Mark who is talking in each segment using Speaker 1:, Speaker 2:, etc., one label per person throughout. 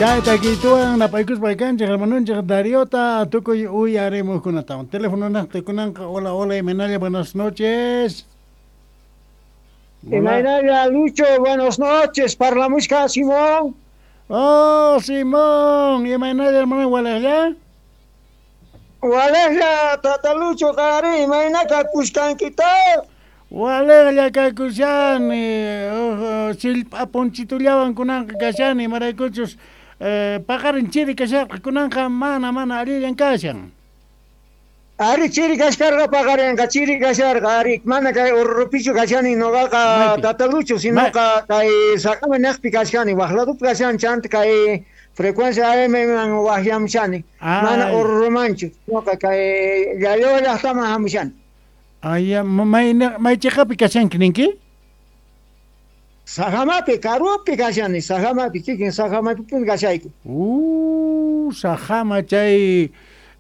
Speaker 1: Chay takiytuwan napaykuspa kanchik hermanunchik Dariota tukuy uyarimuqkunatawan. Teléfono naqta kunanqa. Hola, hola, imaynalla, buenas noches.
Speaker 2: Imaynalla, Lucho, buenas noches. Parlamushka Simón.
Speaker 1: Oh, Simón, imaynalla, hermano, walaqlla?
Speaker 2: Walaqlla, tata Lucho, qari, imayna kakushkankita?
Speaker 1: Walaqlla kakushani, sillp'a punchitullawan kunanqa kashani, imaraykuchus paqarin chiri kasharqa kunanqa mana mana allillan kashan.
Speaker 2: Ari chiri kashkarqa paqarinqa chiri kasharqa, ari mana kay Oruro-pichu kashani noqaqa tata Lucho, sinoqa kay Sajama niqpi kashkani, waq ladopi kashani chanta kay frecuencia AM man waqyamushani, mana Oruromanchu, noqa kay Llalloa llaqtaman hamushani.
Speaker 1: Ay, may may chiqapi kashanki ninki?
Speaker 2: Sajamapi, karupi kashani, Sajamapi, kikin Sajamapipuni kashayku.
Speaker 1: Sajama chay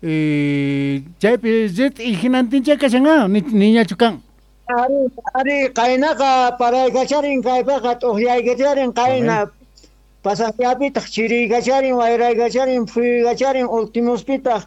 Speaker 1: chaypi rit'i hinantincha kashan niñachu kan?
Speaker 2: Ari, ari, qaynaqa paraykacharin kaypiqa t'uqyaykacharin qayna pasaqllapitaq chiriykacharin, wayraykacharin, phuyuykacharin, ultimospitaq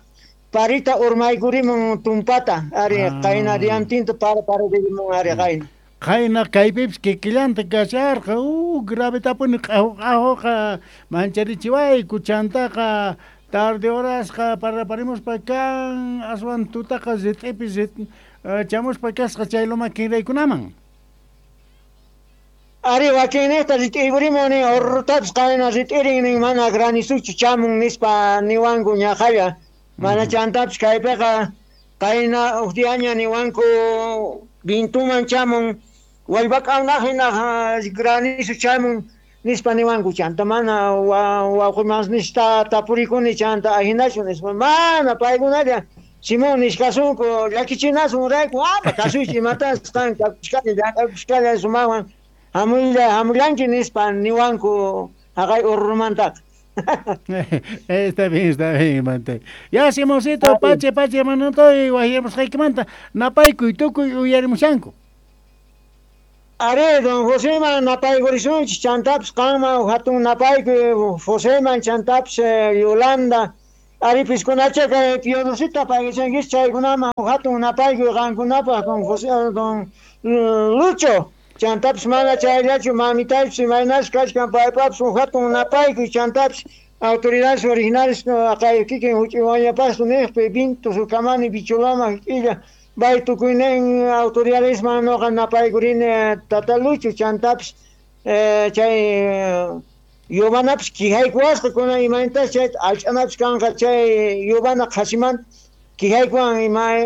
Speaker 2: parita urmaykurimun tumpata, ari qayna diantinta para pararimun ari qayna.
Speaker 1: Qayna kaypipis kikillanta kasharqa, gravetapuni q'ahu q'ahuqa mancharichiwayku chantaqa tarde horasqa paraparimuspa kan aswan tutaqa rit'ipi chamuspa kasqa chay loma kinraykunaman.
Speaker 2: Ari wakinniqta rit'iykurimun nin Orurutapis qayna rit'irin nin mana granisuchu chamun nispa niwanku ñaqalla. Mana chantapis kaypiqa qayna huk diaña niwanku vintuman chamun wallpak'awnaq hina granizo chamun nispa niwanku chanta mana wawqimasnista tapurikuni chanta ahinachu nispa mana paykunalla Simón nishkasunku llakichinasun rayku ama kasuychu imatas qan kakushkalla llank'akushkalla sumawan hamulla hamullanki nispa niwanku haqay Oruromantaqa.
Speaker 1: Está bien, mante. Ya, Simoncito, pache, pache, hermanito, waqyamusqaykimanta napaykuy tukuy uyarimushanku.
Speaker 2: Ari, don Joseman napaykurisunchik, chantapis qanman hatun napaykuy Joseman, chantapis Yolanda, ari piskunacha kay Piodosita paykichankichik chaykunaman hatun napaykuy qankunapaq don José, don Lucho. Chantapis mana chayllachu mamitaypis imaynachu kachkan paypapis hatun napaykuy chantapis autoridades originales kay kikin huch'uywañapastu niqpi Vinto Sukamani Bicholama k'illa bay tukuynin autoridadesman noqa napaykurini tata Lucho chantapis chay yubanapis quijaykuwasqa kunan imaynatas chayta allch'anapis kanqa chay yubana qhasimanta quijaykuwan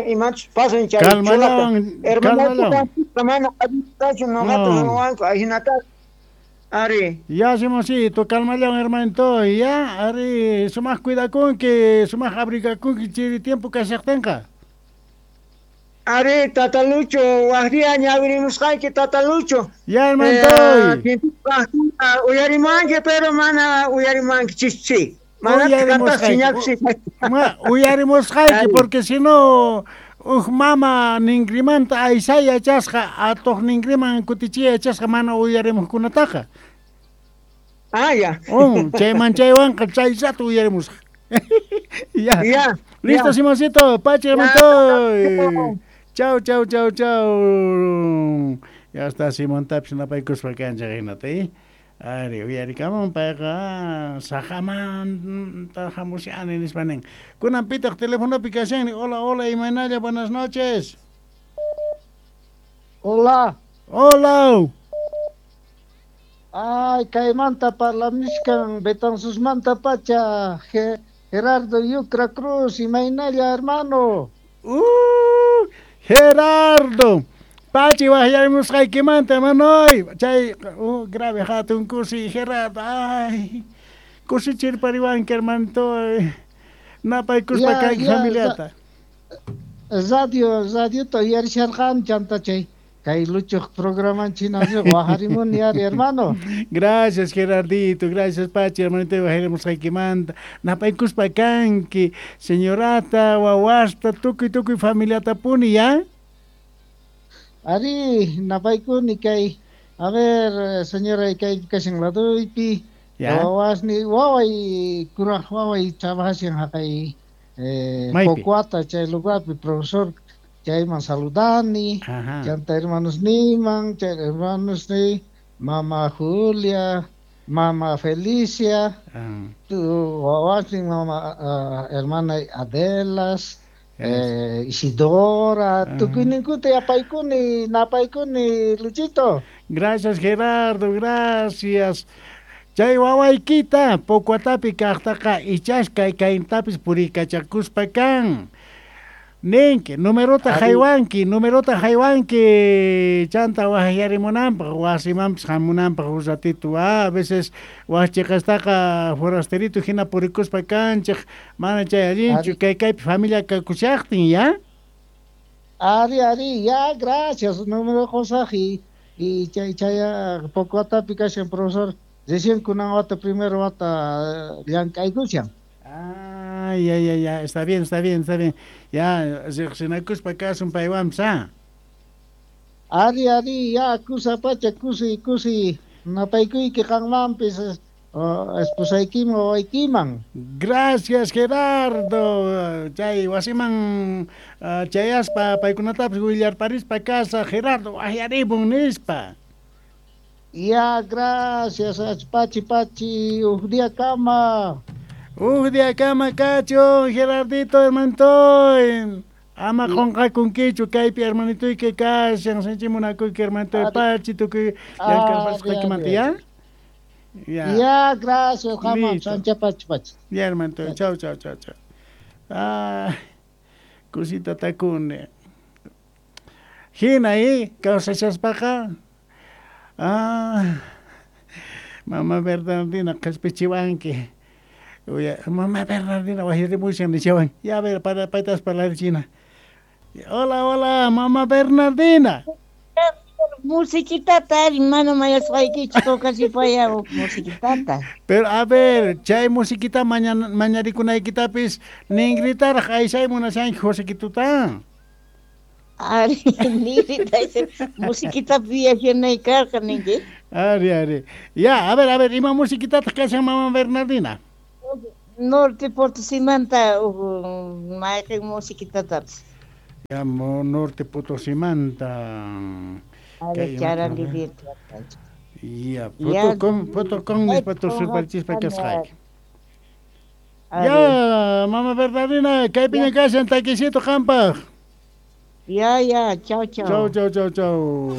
Speaker 2: imachus pasan chay
Speaker 1: chulata.
Speaker 2: Hermano mana allintachu noqata ruwanku ahinata. Ari.
Speaker 1: Ya, Simoncito, calmallawan hermanito, ya, ari, sumaq cuidakunki, sumaq abrigakunki chiri tiempo kashaqtinqa.
Speaker 2: Ari, tata Lucho, waq día ñawirimusqayki tata Lucho.
Speaker 1: Ya, hermanito.
Speaker 2: Uyarimanki, pero mana uyarimanki chischi. Mana
Speaker 1: uyarimusqayki, porque si no uj mama ninkrimanta aysay yachasqa atuq ninkriman kutichiy yachasqa mana uyarimuqkunataqa.
Speaker 2: Ah, ya.
Speaker 1: Chayman chaywanqa chay rato uyarimusqa. Ya.
Speaker 2: Ya.
Speaker 1: Listo, Simoncito, pache, hermanito. Chau, chau, chau, chau. Ya está Simontapis napaykuspa kanchik hinata, Ari, uyarikamun payqa Sajamanta hamushani nispa nin. Kunan pitaq telefonopi kashani. Hola, hola, imaynalla, buenas noches.
Speaker 3: Hola.
Speaker 1: Hola.
Speaker 3: Ay, kaymanta parlamushkan Betanzosmanta pacha Gerardo Yucra Cruz, imaynalla, hermano.
Speaker 1: Gerardo. Pachi waqyarimusqaykimanta, hermanoy. Chay grave hatun kusi, Gerardo. Ay, kusichirpariwanki, hermanito. Napaykuspa kayki familiata.
Speaker 3: Radio, radiota uyarisharqani chanta chay kay Luchoq programan china wajarimuni ari, hermano.
Speaker 1: Gracias, Gerardito, gracias, Pachi, hermanito, waqyarimusqaykimanta. Napaykuspa kanki, señorata, wawasta, tukuy tukuy familiatapuni, ya?
Speaker 3: Ari, napaykuni kay, a ver, señora, kay kashan laduypi, Wawasni waway kuraj waway trabajashan haqay Pocuata chay lugarpi profesor chayman saludani. Chanta hermanos niman, chay hermanos ni mama Julia, mama Felicia, tu wawasni mama hermana Adelas, Isidora, tukuyninkuta yapaykuni, napaykuni, Luchito.
Speaker 1: Gracias, Gerardo, gracias. Chay wawaykita Pocuatapi kaqtaqa ichash kay kayntapis purikachakuspa kan. Ninki, numerota haywanki, numerota haywanki, chanta wajyarimunanpaq, wasimanpis hamunanpaq un ratito. A veces wajchiqastaqa forasterito hina purikuspa kanchik, mana chay allinchu, kay kaypi familia kakushaqtin, ya?
Speaker 3: Ari, ari, ya, gracias, número qusaq y chay chay Pocuatapi kashan profesor, recién kunan wata primero wata llank'aykushan.
Speaker 1: Ah, ya, ya, ya, está bien, está bien, está bien. Ya, riqsinakuspa kasun paywanpis, ah.
Speaker 3: Ari, ari, ya, kusa pacha, kusi, kusi, napaykuyki qanmanpis, esposaykiman, wawaykiman.
Speaker 1: Gracias, Gerardo. Chay wasiman chayaspa paykunatapis willarparispa kasa, Gerardo, wajyarimun nispa.
Speaker 3: Ya, gracias, pachi, pachi, uj día kama.
Speaker 1: Uj día kama kachun, Gerardito, hermanitoy. Ama qunqakunkichu kaypi hermanitoyki kashan, sinchi munakuyki hermanitoy, pachi tukuy llank'arpasqaykimanta, ya?
Speaker 3: Ya. Ya, gracias, jamás, sancha pachi pachi.
Speaker 1: Ya, hermanitoy, chau, chau, chau, chau. Ah, kusita takuni. Hina, kawsashaspaqa. Ah, mama Bernardina qhispichiwanki. Oye, mamá Bernardina wajyarimushan nishawan. Ya, a ver, para paytas parlarichina. Hola, hola, mamá Bernardina.
Speaker 4: Musiquitata, ari, mana mayasqaykichu tocasipaya musiquitata.
Speaker 1: Pero a ver, chay musiquita mañarikunaykitapis ningritaraq aysay munashanki Josequituta.
Speaker 4: Ari, ningrita musiquita viajanay karqa ninki.
Speaker 1: Ari, ari. Ya, a ver, ima musiquitataq kashan mamá Bernardina?
Speaker 4: Norte Potosimanta mayqin musiquitatapis.
Speaker 1: Ya, Norte Potosimanta.
Speaker 4: Ari, charali.
Speaker 1: Ya, fotocom nispa tusurparichispa kasqayki. Ya, mamá Bernardina, kaypiña kashan takisito qampaq.
Speaker 4: Ya, ya, chau, chau.
Speaker 1: Chau, chau, chau, chau.